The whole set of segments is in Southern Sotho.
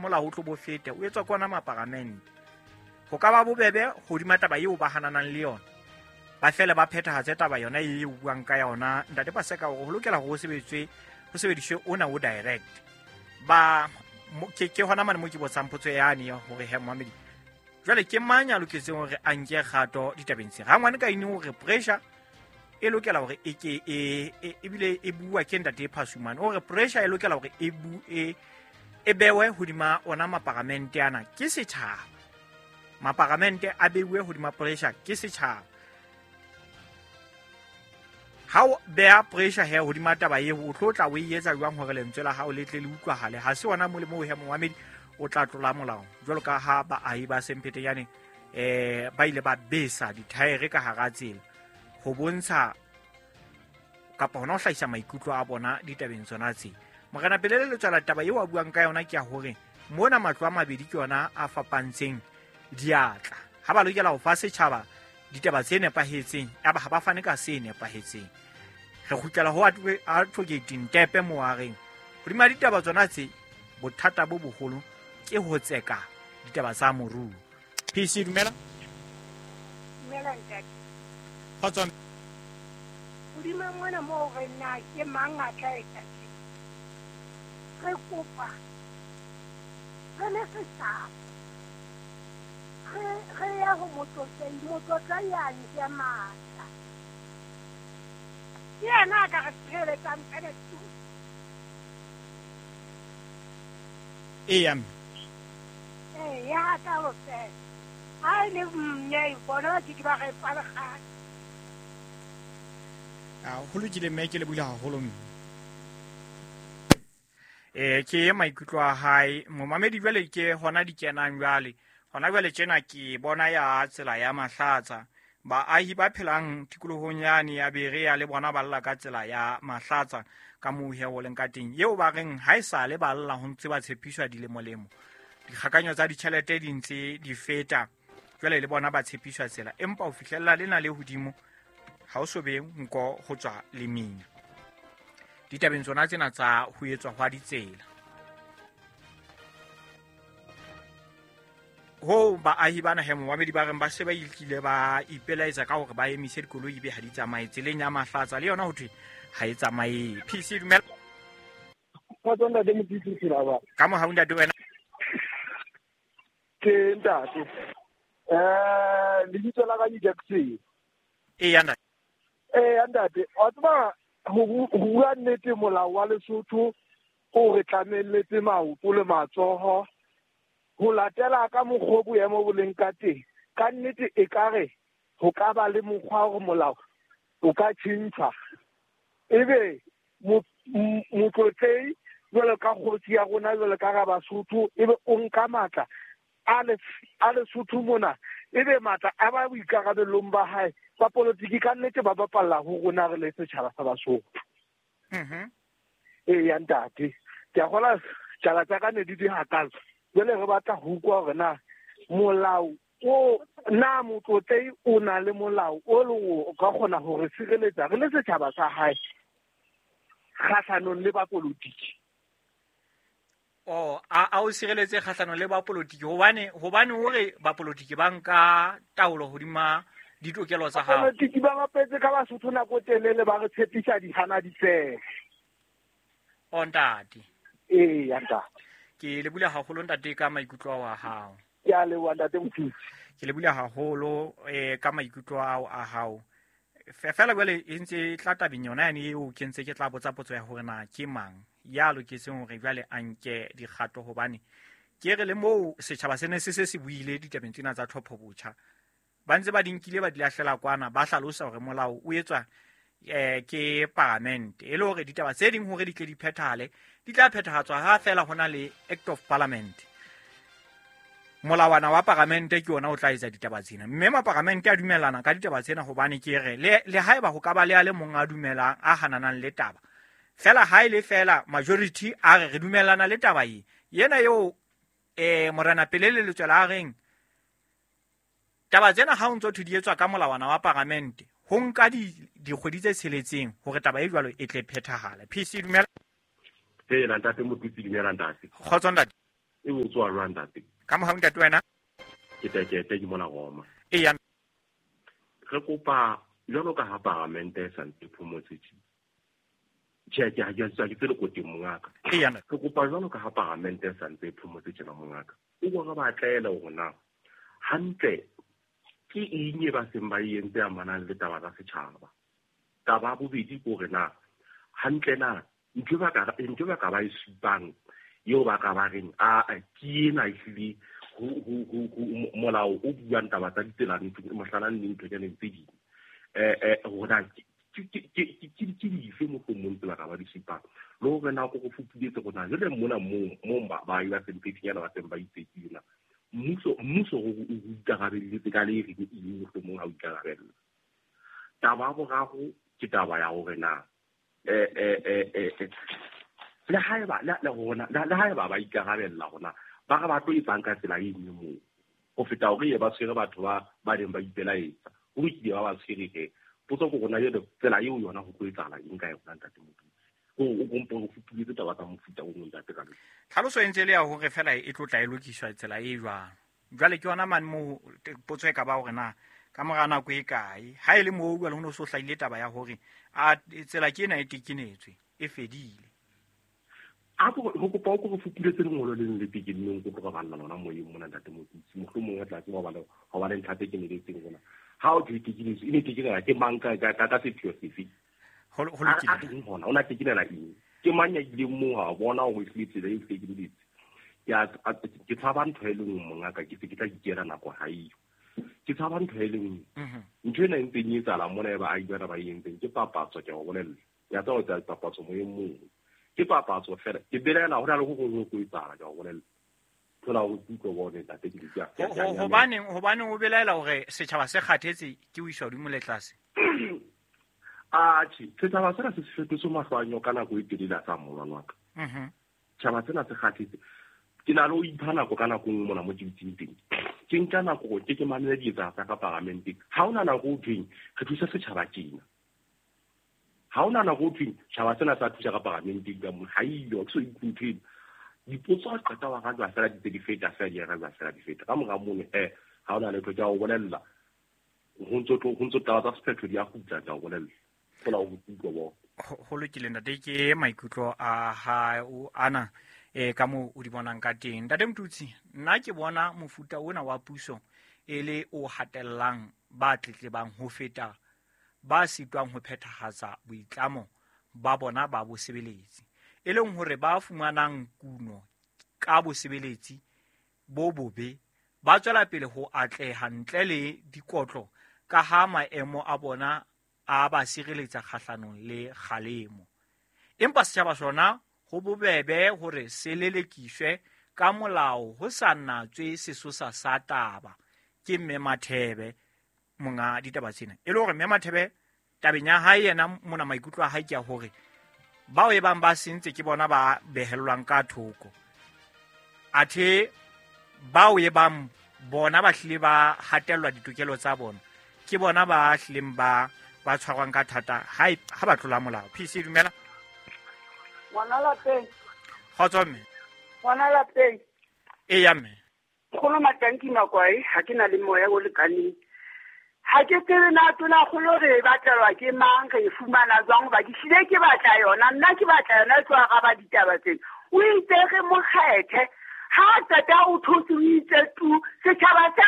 molao o tlo bo fete o etswa ke ona maparamente. Ho ka ba bobebe hodima taba eo ba hananang le yona, ba fele ba phethahatse taba yona e o buang ka yona ntate Paseka, hore ho lokela hore ho sebediswe ona o direct. Ba ke hona mane mo ke botsang potso yane ya hore he Mohamedi, jwale ke mang ya loketseng hore a nke kgato ditabeng tse? Rangwane ka ine hore pressure e lokela hore e ke e ebile e bua ke ntate Phasumane, hore pressure e lokela hore e bu e e bewe hodima ona maparamente ana ke setjhaba. Maparamente a beuwe hodima pressure ke setjhaba. Ha o beha pressure he hodima taba eo, o tlo tla o e etsa jwang hore lentswe la hao le tle le utlwahale? Ha se ona molemo o he Mohamedi o tla tlola molao, jwalo ka ha baahi ba Semphetenyane ba ile ba besa dithaere ka hara tsela ho bontsha kapa hona ho hlahisa maikutlo a bona ditabeng tsona tse. Morena Pelele Letswala, taba eo a buang ka yona ke ya hore mona matlo a mabedi ke yona a fapantseng diatla. Ha ba lokela ho fa setjhaba ditaba tse nepahetseng, aba ha ba fane ka se nepahetseng. Re kgutlela ho Advocate Ntepe moo a reng hodima ditaba tsona tse, bothata bo boholo ke ho tseka ditaba tsa moruo. PC, dumela. Dumela ntate. Kgotso. Hodima mona moo re na ke mang a tla etsa tje? Re kopa re le setjhaba re ya ho motlotlei, motlotlei a nke matla. Ke yena a ka re tshireletsang fela tu. Eya mme. Ee, ya ka ho fela. Ha e le mme bona ba ke ba re fa lekgale. A ho lokile mme, ke lebohile haholo mme. Ke maikutlo a hae momamedi. Jwale ke hona di kenang jwale. Hona jwale tjena ke bona ya tsela ya Mahlatsa. Baahi ba phelang tikolohong yane ya Berea le bona ba lla ka tsela ya Mahlatsa ka moo he ho leng ka teng. Eo ba reng ha e sale ba lla ho ntse ba tshepiswa dilemolemo. Dikgakanyo tsa ditjhelete di ntse di feta. Jwale le bona ba tshepiswa tsela, empa ho fihlella lena le hodimo ha o so be nko ho tswa lemina. Ditabeng tsona tsena tsa ho etswa hwa ditsela. Ho baahi ba naheng momamedi ba reng ba se ba ilkile ba ipelaetsa ka hore ba emise dikoloi ebe ha di tsamaye tseleng ya Mahlatsa, le yona ho thwe ha e tsamaye. PC, dumela. Kgotso ntate Motitsi Silaba. Ka mohau ntate wena. Ke ntate. Lebitso la ka ke Jackson. Eya ntate. Eya ntate, wa tseba ho bua nnete molao wa Lesotho o re tlamelletse maoto le matsoho ho latela ka mokgwa o boemo bo leng ka teng. Ka nnete ekare ho ka ba le mokgwa hore molao o ka tjhentjhwa, ebe motlotlei jwalo ka kgosi ya rona jwalo ka ra Basotho, ebe o nka matla a Lesotho mona, ebe matla a ba boikarabellong ba hae ba politiki ka nnete ba bapalla ho rona re le setjhaba sa Basotho. Eya ntate, ke a kgola tjala tsa ka ne di di hakalo. Jwale re batla ho utlwa hore na molao o na motlotlei o na le molao o leng o ka kgona ho re sireletsa re le setjhaba sa hae kgahlanong le bapolotiki. Oh, a o sireletse kgahlanong le bapolotiki hobane hore bapolotiki ba nka taolo hodima ditokelo tsa hao. Bapolotiki ba bapetse ka Basotho nako telele ba re tshepisa dihana di fele. O ntate. Eya ntate. Ke lebohile haholo ntate ka maikutlo ao a hao. Ke a leboha ntate Mothusi. Ke lebohile haholo ka maikutlo ao a hao. Fela jwale e ntse e tla tabeng yona yane eo ke ntse ke tla botsa potso ya hore na ke mang ya loketseng hore jwale a nke dikgato, hobane ke re le moo setjhaba se ne se se se buile ditabeng tsena tsa tlhopho botjha, ba ntse ba di nkile ba di lahlela kwana, ba hlalosa hore molao o etswa ke paramente, e le hore ditaba tse ding hore di tle di phethahale di tla phethahatswa ha fela ho na le Act of Parliament. Molawana wa paramente ke ona o tla etsa ditaba tsena, mme maparamente a dumellana ka ditaba tsena, hobane ke re le haeba ho ka ba le a le mong a dumelang a hananang le taba fela, ha e le fela majority a re re dumellana le taba e yena eo Morena Pelele Letswela a reng taba tsena ha o ntso thwe di etswa ka molawana wa paramente, ho nka dikgwedi tse tsheletseng hore taba e jwalo e tle phethahale. PC, dumela. Ee, ntate Motutsi, dumela ntate. Kgotso ntate. E o tswa jwang ntate? Ka mohau ntate wena? Ke tekete ke mona Roma. Eya. Re kopa jwalo ka ha paramente e santse phomotse tje. Tjhe, ke ha ke ke tsele koteng mongaka. Eya. Re kopa jwalo ka ha paramente e santse phomotse tjena mongaka. O bona ba tlaela hore na hantle ke eng e ba seng ba e entse amanang le taba tsa setjhaba. Taba ya bobedi ke hore na hantle na ntho ba ka ba e supang eo ba ka ba reng a ke ena ehlile ho molao o buang taba tsa ditsela mohlala le ntho tsena tse ding hore na ke dife mohlomong tse ba ka ba di supang le hore na ko go fupuletse rona jwale mona moo baahi ba Semphethinyana ba seng ba itse na mmuso o ikarabelletse ka le reng eng mohlomong ha o ikarabella. Taba ya boraro ke taba ya hore na le haeba le haeba ba ikarabella hona ba re ba tlo etsang ka tsela e nngwe moo ho feta hore e ba tshwere batho ba neng ba ipelaetsa ho lokile ba ba tshwere he. Potso ke rona jwale tsela eo yona ho tlo etsahala eng ka yona ntate Motutsi? O kompo ho fupuletse taba tsa mofuta o mong ntate ka le. Tlhaloso e ntse le ya hore fela e tlo tla e lokiswa tsela e jwang. Jwale ke yona mane moo potso e ka ba hore na ka mora nako e kae ha e le moo jwale ho no so hlahile taba ya hore a tsela ke ena e tekenetswe e fedile. A go kopa o go fupuletse lengolo le le tekeneng go tloga balla lona moyeng mona ntate Motutsi mohlomong re tla tseba ho ba le ntlha tse keneletseng rona. Ha o tekenetswe e ne tekenela ke mang ka sepheo sefe? Ho lokile hona o na tekenela eng? Ke mang ya ileng moo ha bona hore ehlile tsela e tekeneletse? Ke tshaba ntho e le nngwe mongaka, ke se ke tla ikela nako ha eyo. Ke tshaba ntho e le nngwe. Ntho ena e ntseng e etsahala mona e baahi bana ba e entseng ke papatso, ke a o bolella. Ke a tseba ho etsa papatso moyeng moo. Ke papatso fela. Ke belaela ho na le ho hong ho tlo etsahala, ke a o bolella. Thola hore ke utlwe bone ntate ke ke Hobaneng o belaela hore setjhaba se kgathetse ke ho iswa hodimo le tlase? Atjhe, setjhaba sena se fetotse mahlo a nyoka nako e telele a sa molwana wa ka. Setjhaba sena se kgathetse. Ke na le ho ipha nako ka nako nngwe mona mo ke dutseng teng. Ke nka nako hore ke mamele dietsa tsa ka paramenteng. Ha hona nako ho thweng re thusa setjhaba tjena. Ha hona nako ho thweng tjhaba sena sa thusa ka paramenteng ka mona. Ha eyo, ke so utlwe ntho eno. Dipotso ha qeta wa rajwa fela di tse di feta fela di rajwa fela di feta. Ka mora mono ha hona letho ke a o bolella. Ho ntso taba tsa sephetho di a kgutla ke a o bolella. Thola o utlwe bo. Ho lokile ntate, ke maikutlo a hao ana ka moo o di bonang ka teng. Ntate Motutsi, nna ke bona mofuta ona wa puso e le o hatellang ba tletlebang ho feta ba sitwang ho phethahatsa boitlamo ba bona ba bosebeletsi, e leng hore ba fumanang kuno ka bosebeletsi bo bobe ba tswela pele ho atleha ntle le dikotlo ka ha maemo a bona a ba sireletsa kgahlanong le kgalemo. Empa setjhaba sona ho bobebe hore se lelekiswe ka molao ho sa natswe sesosa sa taba. Ke Mme Mathebe monga ditaba tsena. E le hore Mme Mathebe tabeng ya hae yena mona maikutlo a hae ke a hore bao e bang ba sentse ke bona ba behellwang ka thoko. Athe bao e bang bona ba hlile ba hatellwa ditokelo tsa bona ke bona ba hlileng ba tshwarwang ka thata ha ba tlola molao. PC dumela. Ngwana lapeng. Kgotso mme. Ngwana lapeng. Eya mme. Nkgono Matanki Makwai, ha ke na le moya o lekaneng. Ha ke tsebe na tonakgolo re e batlelwa ke mang, re e fumana jwang, hoba ke hlile ke batla yona, nna ke batla yona e tlo araba ditaba tsena. O itse re mo kgethe, ha qeta o thotse o itse tu, setjhaba sa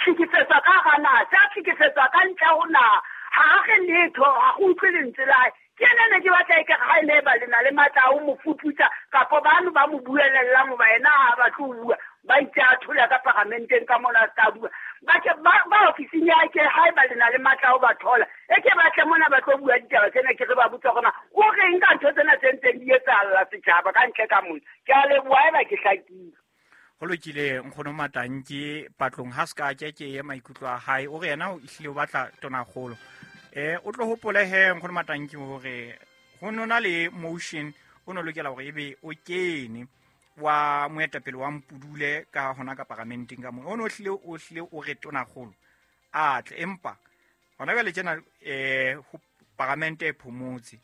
hlekefetswa ka hara naha, sa hlekefetswa ka ntle ho naha. Ha re letho, ha go utlwe lentswe la hae. Ke ena ne ke batla ekare ha e ne ba le na le matla a ho mo fuputsa, kapa bano ba mo buelellang hoba yena ha a batle ho bua, ba itse a thola ka paramenteng ka mona a ska bua. Ba ke ba ofising ya ke haeba le na le matla a ho ba thola, e ke batle mona ba tlo bua ditaba tsena, ke re ba botsa hore na o reng ka ntho tsena tse ntseng di etsahalla setjhaba ka ntle ka mona. Ke a leboha haeba ke hlakile. Ho lokile nkgono Matanki patlong ha ska ke ke ye maikutlo a hae o re yena o ehlile o batla tonakgolo. O tlo hopole he nkgono Matanki hore ho nona le motion o no lokela hore ebe o kene wa moetapele wa Mpudule ka hona ka paramenteng ka mona. O no hlile o re tonakgolo a tle, empa hona jwale tjena ho paramente e phomotse.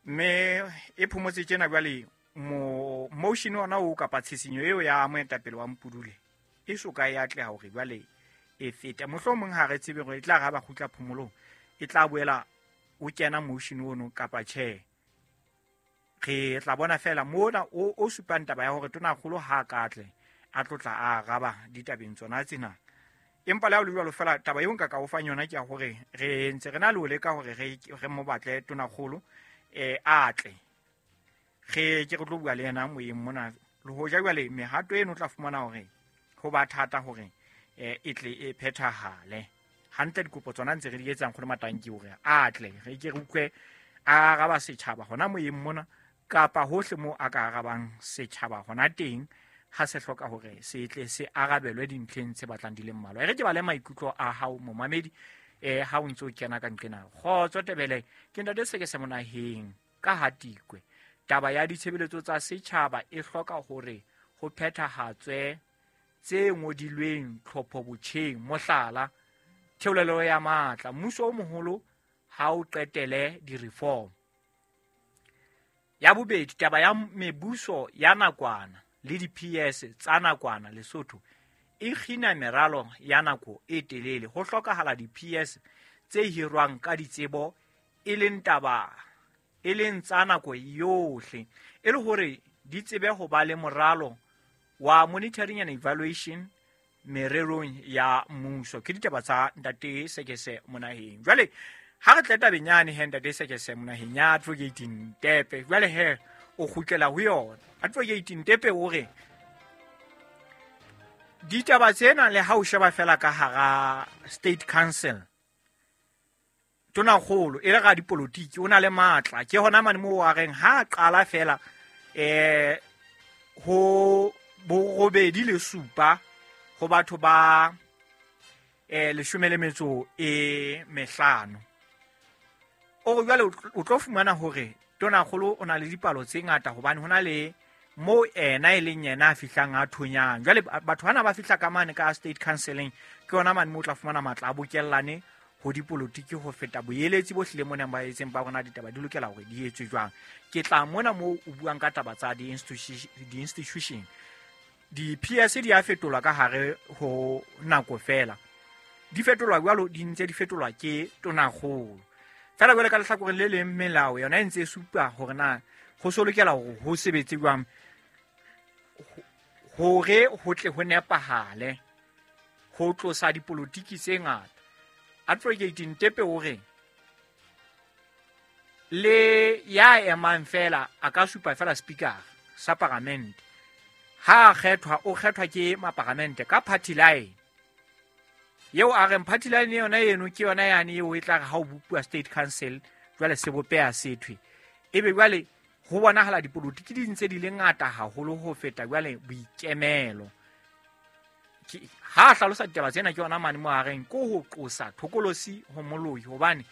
Mme e phomotse tjena jwale Motion ona o kapa tshisinyo eo ya moetapele wa Mpudule e soka e atleha hore jwale e fete. Mohlomong ha re tsebe hore e tla ra ba kgutla phomolong, e tla boela o kena motion ono kapa tjhe. Re tla bona fela mona o supang taba ya hore tonakgolo ha ka tle a tlotla a araba ditabeng tsona tsena. Empa le ha o le jwalo fela taba eo nka ka o fang yona ke ya hore re ntse re na le ho leka hore re mo batle tonakgolo a tle. Re ke re tlo bua le yena moyeng mona. Le hoja jwale mehato eno o tla fumana hore ho ba thata hore e tle e phethahale. Hantle dikopo tsona ntse re di etsang kgolo matanki hore a tle re ke re utlwe a araba setjhaba hona moyeng mona kapa hohle moo a ka arabang setjhaba hona teng ha se hloka hore se tle se arabelwe dintlheng tse batlang di le mmalwa. E re ke bale maikutlo a hao momamedi ha o ntse o kena ka nqena. Kgotso Tebele, ke ntate Sekese Monaheng ka Hatikwe. Taba ya ditshebeletso tsa setjhaba e hloka hore ho phethahatswe tse ngodilweng tlhopho botjheng, mohlala theolelo ya matla, mmuso o moholo ha o qetele di-reform. Ya bobedi, taba ya mebuso ya nakwana le di-PS tsa nakwana Lesotho e kgina meralo ya nako e telele. Ho hlokahala di-PS tse hirwang ka ditsebo e leng taba e leng tsa nako yohle, e le hore di tsebe ho ba le moralo wa monitoring and evaluation mererong ya mmuso. Ke ditaba tsa ntate Sekese Monaheng. Jwale ha re tle tabeng yane he ntate Sekese Monaheng ya Advocate Ntepe, jwale he o kgutlela ho yona. Advocate Ntepe o re ditaba tsena le ha o sheba fela ka hara State Council, tonakgolo e le ga dipolotiki o na le matla. Ke hona mane moo a reng ha qala fela ho borobedi le supa ho batho ba 15. O re jwale o tlo fumana hore tonakgolo o na le dipalo tse ngata hobane hona le mo ena e leng yena a fihlang a thonyang. Jwale batho bana ba fihla ka mane ka State Counciling, ke yona mane mo o tla fumana matla a bokellane ho dipolotiki ho feta boeletsi bo hlile mona ba etseng ba rona ditaba di lokela hore di etswe jwang. Ke tla mona moo o buang ka taba tsa di-institution. Di-PS di a fetolwa ka hare ho nako fela. Di fetolwa jwalo, di ntse di fetolwa ke tonakgolo. Fela jwale ka lehlakoreng le leng melao yona e ntse e supa hore na ho so lokela hore ho sebetse jwang hore ho tle ho nepahale ho tlosa dipolotiki tse ngata. Advocate Ntepe o re le ya emang fela a ka supa fela speaker sa paramente. Ha kgethwa o kgethwa ke maparamente ka party line. Yeo a reng party line yona eno ke yona yane eo e tla re ha o bopuwa State Council jwale sebopeha sethwe. Ebe jwale ho bonahala dipolotiki di ntse di le ngata haholo ho feta jwale boikemelo. Ha hlalosa ditaba tsena ke yona mane mo a reng ko ho qosa thokolosi ho moloi, hobane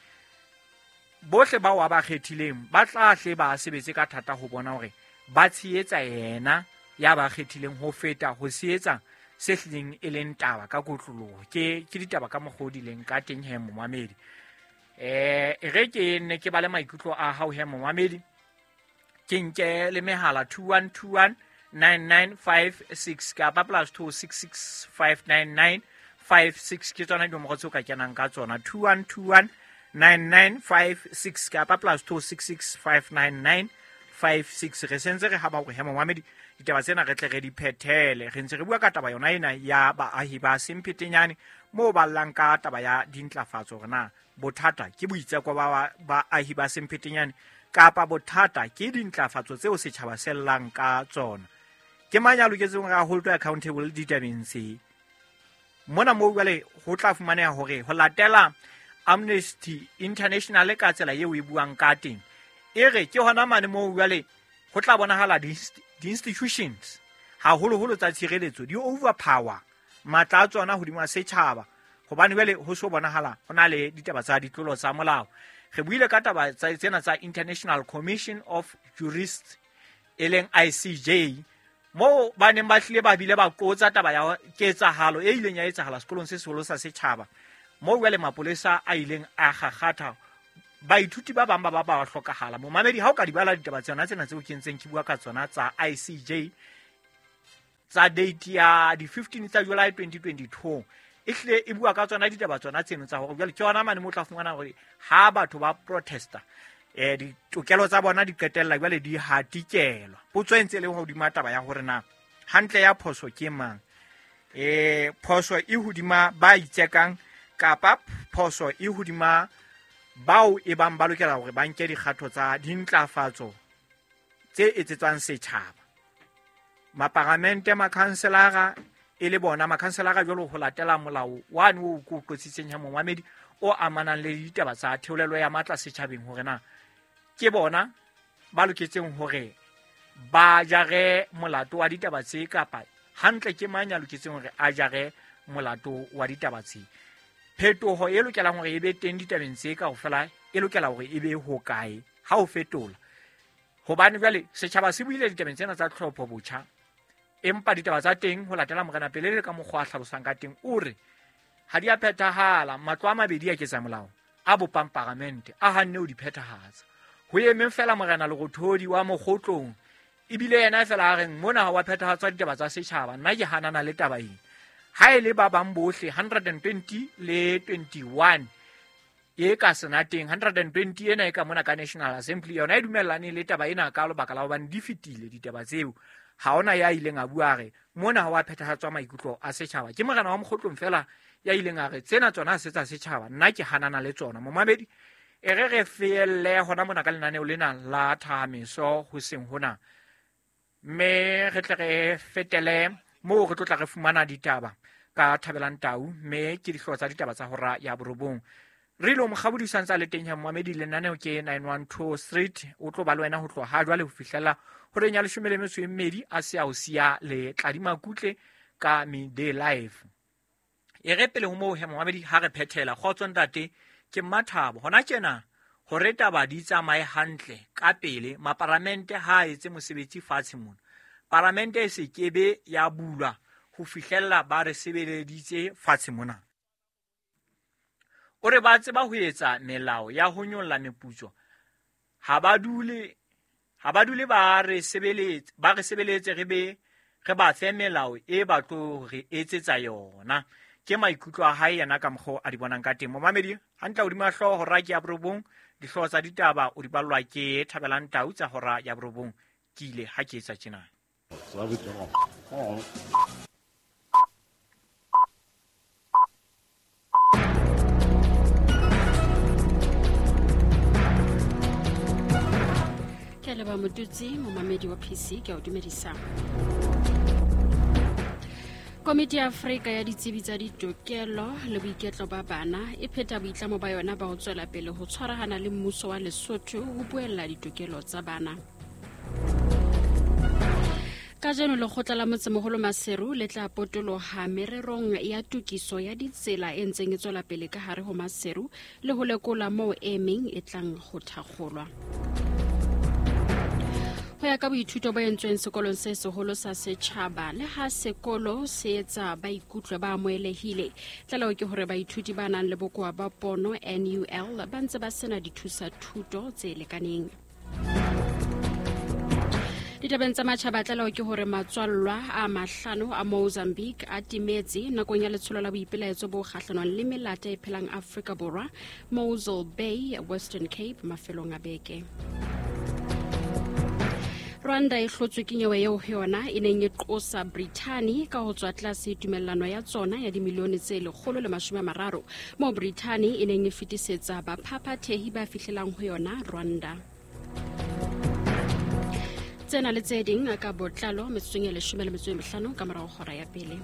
bohle bao a ba kgethileng ba tla hle ba sebetse ka thata ho bona hore ba tshehetsa yena ya ba kgethileng ho feta ho tshehetsa se hlileng e leng taba ka kotloloho. Ke ditaba ka mokgwa o di leng ka teng he momamedi. E re ke nne ke bale maikutlo a hao he momamedi, ke nke le mehala 2121 9956 kapa +266 599 56 ke tsona dinomoro tseo ka kenang ka tsona. 2121 9956 kapa +266 599 56. Re sentse re haba hore he momamedi ditaba tsena re tle re di phethele. Re ntse re bua ka taba yona ena ya baahi ba Semphetenyane moo ba llang ka taba ya dintlafatso hore na bothata ke boitseko ba baahi ba Semphetenyane kapa bothata ke dintlafatso tseo setjhaba se llang ka tsona. Ke mang ya loketseng hore a hold accountable ditabeng tse? Mona moo jwale ho tla fumaneha hore ho latela Amnesty International ka tsela eo e buang ka teng, e re ke hona mane moo jwale ho tla bonahala di-institutions haholoholo tsa tshireletso di overpower matla a tsona hodima setjhaba, hobane jwale ho so bonahala ho na le ditaba tsa ditlolo tsa molao. Re buile ka taba tsena tsa International Commission of Jurists e leng ICJ, moo ba neng ba hlile ba bile ba qotsa taba ya ketsahalo e ileng ya etsahala sekolong se seholo sa setjhaba, moo jwale mapolesa a ileng a kgakgatha Baithuti ba bang ba ba ba hlokahala. Momamedi, ha o ka di bala ditaba tsona tsena tseo ke ntseng ke bua ka tsona tsa ICJ tsa date ya di 15 tsa July 2022, e hlile e bua ka tsona ditaba tsona tseno tsa hore jwale ke yona mane mo tla fumana hore ha batho ba protesta ditokelo tsa bona di qetella jwale di hatikelwa. Potso e ntse e le hodima taba ya hore na hantle ya phoso ke mang, phoso e hodima ba itsekang kapa phoso e hodima bao e bang ba lokela hore ba nke dikgatho tsa dintlafatso tse etsetswang setjhaba. Maparamente, makhanselara e le bona makhanselara jwalo ho latela molao wane o ko qotsitseng ya momamedi o amanang le ditaba tsa theolelo ya matla setjhabeng, hore na ke bona ba loketseng hore ba jare molato wa ditaba tse kapa hantle ke mang ya loketseng hore a jare molato wa ditaba tse. Phetoho e lokelang hore e be teng ditabeng tse kaofela e lokela hore e be hokae ha o fetola, hobane jwale setjhaba se buile ditabeng tsena tsa tlhopho botjha, empa ditaba tsa teng ho latela Morena Pele le ka mokgwa a hlalosang ka teng o re ha di a phethahala. Matlo a mabedi a ketsa molao a bopang paramente a hanne ho di phethahatsa. Ho emeng fela Morena Lerothodi wa Mokgotlong, ebile yena fela a reng mona ha wa phethahatswa ditaba tsa setjhaba, nna ke hanana le taba ena. Ha e le ba bang bohle 120 le 21 e ka senateng, 120 ena e ka mona ka National Assembly yona e dumellane le taba ena ka lebaka la hobane di fetile ditaba tseo. Ha ona ya ileng a bua re mona ha wa phethahatswa maikutlo a setjhaba. Ke Morena wa Mokgotlong fela ya ileng a re tsena tsona ha se tsa setjhaba, nna ke hanana le tsona. Momamedi, e re re feelle hona mona ka lenaneo lena la Thahameso hoseng hona, mme re tle re fetele moo re tlo tla re fumana ditaba ka Thabelang Tau, mme ke dihlooho tsa ditaba tsa hora ya 9. Re ilo mokgabodisa ntse a le teng ya momamedi, lenaneo ke 912 Street, o tlo ba le wena ho tloha ha jwale ho fihlela horeng ya 12 a se a o siya le Tladima Kutle ka Midday Live. E re pele ho moo he momamedi, ha re phethela kgotso ntate ke Mmathabo hona tjena hore taba di tsamaye hantle ka pele. Maparamente ha a etse mosebetsi fatshe mona, paramente e se kebe ya bulwa ho fihlella ba re sebeleditse fatshe mona. O re ba tseba ho etsa melao ya ho nyolla meputso, ha ba dule ba re sebeletse re be re ba fe melao e ba tlo re etsetsa yona. Ke maikutlo a hae yena ka mokgwa a di bonang ka teng. Momamedi, hantle hodima hlooho hora ke ya 9, dihlooho tsa ditaba o di ballwa ke Thabelang Tau tsa hora ya 9. Ke ile ha ke etsa tjena. Ke leba Motutsi, momamedi wa PC, ke a o dumedisa. Komiti ya Afrika ya ditsebi tsa ditokelo le boiketlo ba bana e pheta boitlamo ba yona ba ho tswela pele ho tshwarahana le mmuso wa Lesotho ho buella ditokelo tsa bana. Kajeno lekgotla la motsemoholo Maseru le tla potoloha mererong ya tokiso ya ditsela e ntseng e tswela pele ka hare ho Maseru le ho lekola moo e meng e tlang ho thakgolwa. Ho ya ka boithuto bo entsweng sekolong se seholo sa setjhaba, le ha sekolo se etsa ba ikutlwe ba amohelehile, tlaleho ke hore baithuti ba nang le bokowa ba pono NUL ba ntse ba sena dithusa thuto tse lekaneng. Ditabeng tsa matjhaba, tlaleho ke hore matswallwa a 5 a Mozambique a timetse nakong ya letsholo la boipelaetso bo kgahlanong le melata e phelang Afrika Borwa, Mossel Bay, Western Cape, mafelong a beke. Rwanda e hlotswe ke nyewe eo ho yona e neng e qosa Brithani ka ho tswa tlase tumellano ya tsona ya dimilione tse 130, moo Brithani e neng e fetisetsa baphaphathehi ba fihlelang ho yona Rwanda. Tsena le tse ding ka botlalo metsotsong ya 15 ka morao hora ya pele.